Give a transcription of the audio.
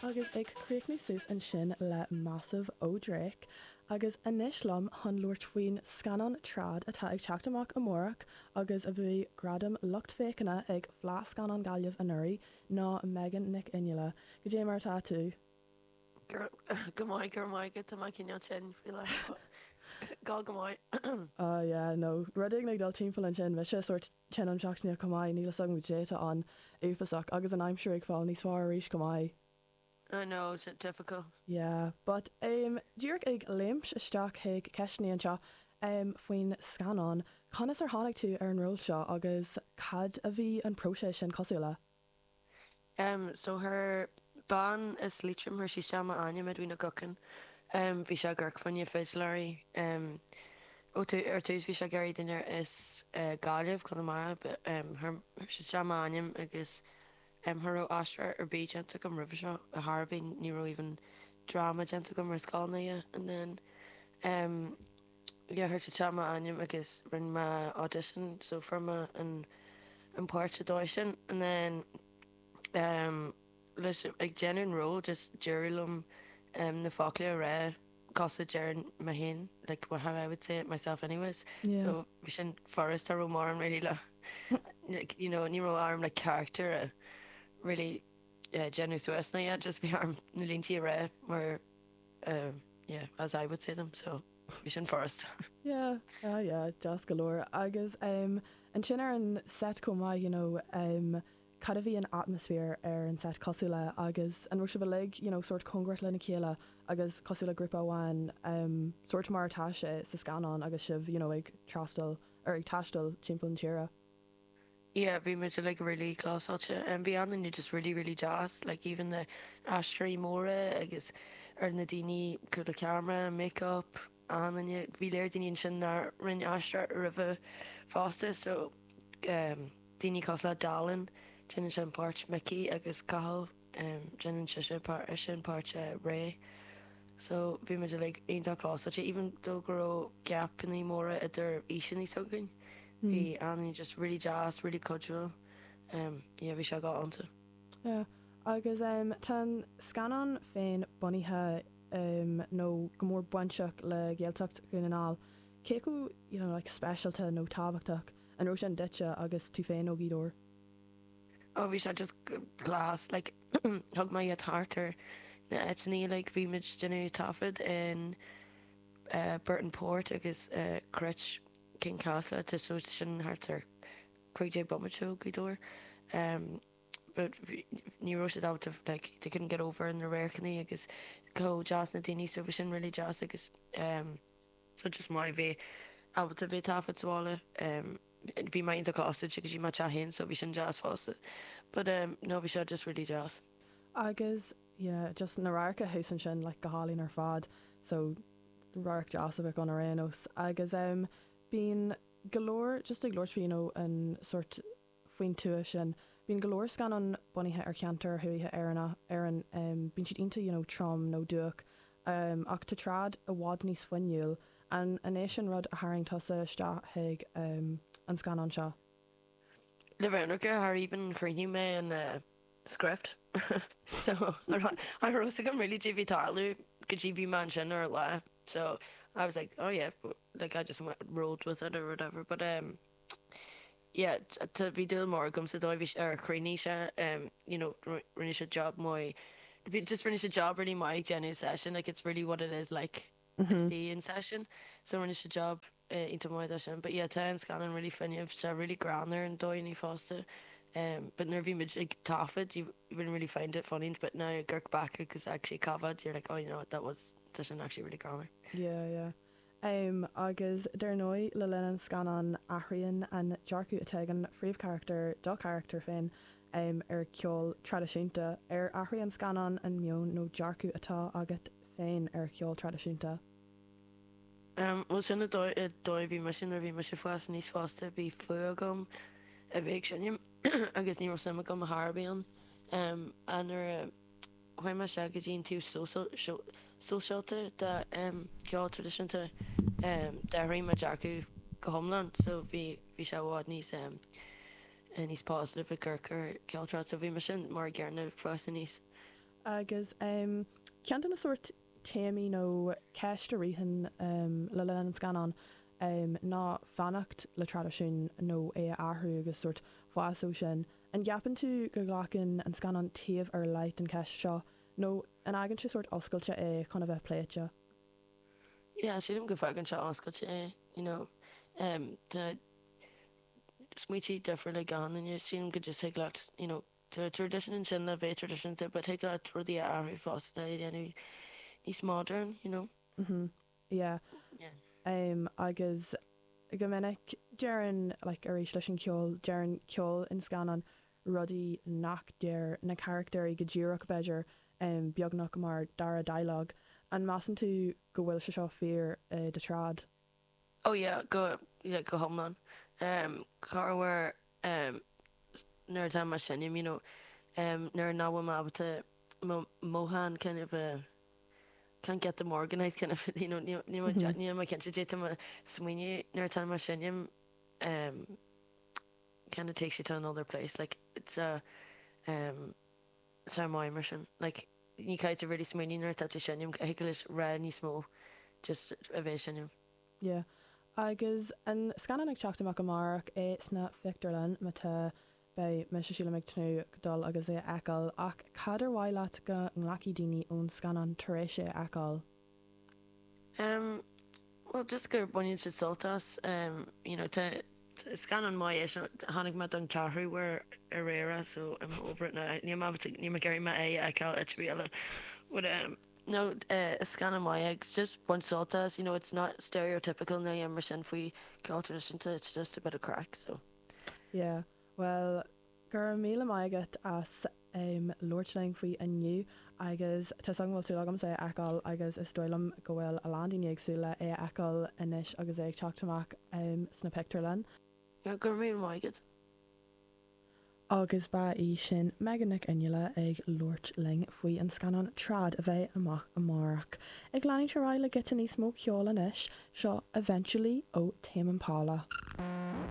Agus ag críochnú suas ansin le Massive ó Drake. Agus anois liom chun labhairt faoin scannán Trad atá ag teacht amach amárach agus a bhuaigh Gradam Lucht Féachana ag Fleadh Scannán Gaillimh anuraidh ná Megan Nic Fhionnghaile. Goidé mar atá tú? Go maith, go raibh maith agat, tá mé cineál tinn faoi láthair but go go maith. Ah yeah, no, rud éigin ag dul timpeall ansin, mise sórt tinn am seachtaine chomh maith, níl fhios agam goidé atá ann, uafásach, agus an aimsir ag fáil níos fearr arís chomh maith. I know, it's difficult. Yeah, but em, díreach ag léimt isteach chuig ceisteanna anseo em, faoin scannán, conas ar tháinig tú ar an ról seo agus cad a bhí an próiseas sin cosúil le? Em, so chuir bean as Liatroim, chuir sí isteach m'ainm, Edwina Guckin, em, bhí sé ag amharc fá choinne fidiléirí, em, ó tú, ar tús bhí sé ag iarraidh duine as eh Gaillimh, Conamara, but em chuir, chuir sí isteach m'ainm agus em cha raibh aisteoireacht ar bith déanta agam roimhe seo, ar chor ar bith, ní raibh even dráma déanta agam ar scoil ná a dhath, and then em yeah chuir siad isteach m'ainm agus rinne mé audition so fuair mé an an páirt an dóigh sin and then um leis ag déanamh an ról just d'éirigh liom um na focla a rá cosúil déarfainn mé féin like well how I would say it myself anyways Yeah. so bhí sin furast cha raibh mórán really le like you know ní raibh orm like character a really uh, déanamh suas ná a dhath just bhí orm na línte a rá mar uh, yeah as I would say them so Bhí sin furast. Yeah, ah yeah, deas go leor. Agus em ansin ar an set chomh maith, you know, em cad a bhí an atmaisféar ar an set cosúil le agus an raibh sibh uilig, you know, sórt cóngarach lena chéile agus cosúil le grúpa amháin, em sórt mar atá sé sa scannán agus sibh, you know, ag trastal, or ag taisteal timpeall na tíre? Yeah, bhí muid uilig really clósáilte. Bhí an-duine just really really deas, like even na aisteoirí móra agus ar na daoine cúl an cheamara, make-up, an-duine, bhí léir daoine ansin nár rinne aisteoireacht roimhe fosta so um, daoine cosúil le Dallin, déanann sé an páirt Mickey agus Cathal, um, déanann sise eisean páirt uh, Ray. So bhí muid uilig iontach clósáilte, even though go raibh gapannaí móra idir aoiseanna s'againn. Bhí an-duine just really deas, really cuidiúil. Um, yeah, bhí sé go iontach. Yeah. Agus um, tá an scannán féin bunaithe um, nó go mór bainteach le Gaeltacht Dhún na nGall. Cé chomh, you know, like, speisialta nó tábhachtach an raibh sin duitse agus tú féin ó Ghaoth Dobhair? Oh, bhí sé just class, like, thug mé iad thart ar na áiteanna, like, bhí muid déanamh taifead in uh, Burtonport agus uh, Cruit Kincasslagh, tá so sin thart ar 15 bomaite ó Ghaoth Dobhair. Um, but ní raibh siad ábalta like they couldn't get over na radharcanna agus chomh deas na daoine so bhí sin really deas agus um, so just maith bheith ábalta bheith taifead sa bhaile. Um, bhí mé iontach close go dtí mo teach féin so bhí sin deas fosta. But um, no bhí sé just really deas. Agus yeah, just na radharcanna thuas ansin like go hálainn ar fad so radharc deas a bheadh ann ar aon nós. Agus em bíonn go leor, just ag labhairt faoi you know an sórt faoin tuath sin, bíonn go leor scannán bunaithe ar cheantair thuaithe Éireannach, Éireann, em bíonn siad iontach you know trom nó dubhach em ach tá Trad i bhfad níos fuinniúil. An an é sin rud a tharraing tusa isteach chuig em an scannán seo? Le bheith ionraic, char even chríochnaigh mé an eh script so cha raibh a fhios agam really cad é bhí ag tarlú go dtí bhí mé ansin ar an lá so I was like oh yeah like I just went rolled with it or whatever but um yeah tá bhí dúil mór agam sa dóigh bhí ar chríochnaigh sé um you know rinne sé job maith bhí just rinne sé job really maith ag déanamh session like it's really what it is like istigh in session so rinne sé job iontach maith de sin but yeah tá an scannán really fuinneamh tá really greannmhar an dóigh fosta um but nuair a bhí muid ag taifead you wouldn't really find it funny but now ag amharc back agus actually taifead you're like oh you know what that was tá sin actually really greannmhar. Yeah yeah. Um agus dar ndóigh le linn an scannáin athraíonn an dearcadh atá ag an phríomhcharachtar, do charachtar féin, um ar cheol traidisiúnta. Ar athraigh an scannán an meon nó dearcadh atá agat féin ar cheol traidisiúnta? Bhuel, sin an dóigh a bhí mise nuair a bhí mise ag fás aníos fosta, bhí fuath agam a bheith ag seinm agus ní raibh suim agam ar chor ar bith ann. Ach nuair a chuaigh mé isteach go dtí an taobh sóisialta de cheol traidisiúnta, d'athraigh mo dhearcadh go hiomlán so bhí bhí sé i bhfad níos níos positive ag amharc ar cheol trad so bhí mise mar an gcéanna ag fás aníos. Agus ceann de na sórt téamaí nó ceist a ritheann le linn an scannáin ná fanacht le traidisiún nó é a athrú agus sórt fás ó sin. An gceapann tú go nglacann an scannán taobh ar leith den cheist seo nó an fhágann sé sórt oscailte é chun a bheith pléite? Yeah, sílim go bhfágann sé oscailte é, you know. Tá smaointe difriúla ag gach duine, sílim go just thig leat, you know, Tá traidisiún ansin le bheith traidisiúnta but thig leat rudaí a athrú fosta le dhéanamh níos modern, you know. Mhm, yeah. Yeah. Em, agus go minic deireann, like, arís leis an cheol, deireann ceol in scannán rudaí nach deir na carachtéirí go díreach, b'fhéidir, em, beagnach mar dara dialogue. An measann tú go bhfuil sé seo fíor i do Trad? Oh yeah, go, yeah, go hiomlán. Em, corruair, em, nuair atá mé ag seinm, you know, em, nuair nach bhfuil mé ábalta mo mhothúcháin kind of a, can't get them organised kind of, you know, níl, níl mé, níl mé cinnte caidé atá mé ag smaoineamh nuair atá mé ag seinm, em, kind of takes you to another place, like, it's a, em, tá maith mar sin, like, Ní caithfidh tú really smaoineamh nuair atá tú ag seinm, thig leat rá níos mó just a bheith ag seinm. Yeah. Agus an scannán ag teacht amach amárach é sna pictiúrlanna, má tá, beidh mise sílim ag tnúth dul agus é a fheiceáil. Ach cad ar mhaith leat go nglacfaidh daoine ón scannán tar éis é a fheiceáil? Em, bhuel just gur baineann siad sult as, em, you know, tá, scannán maith é seo, chonaic mé don ceathrú huair aréir so I'm over it now, níl mé ábalta, níl mé ag iarraidh m'aghaidh a fheiceáil áit ar bith eile but em, no, eh, is scannán maith é agus just bain sult as, you know, it's not stereotypical nó aon rud mar sin faoi ceol traidisiúnta, it's just a bit of craic, so. Yeah, bhuel, Go raibh míle maith agat as labhairt linn faoi inniu agus tá 's agam go bhfuil súil agamsa é a fheiceáil agus is dóigh liom go bhfuil a lán daoine ag súil le é a fheiceáil anois agus é ag teacht amach sna pictiúrlanna. Go raibh míle maith agat. Agus ba í sin Megan Nic Fhionnghaile ag labhairt linn faoi an scannán Trad a bheidh amach amárach. Ag leanúint ar aghaidh le giota níos mó ceoil anois, seo Eventually ó Tame Impala.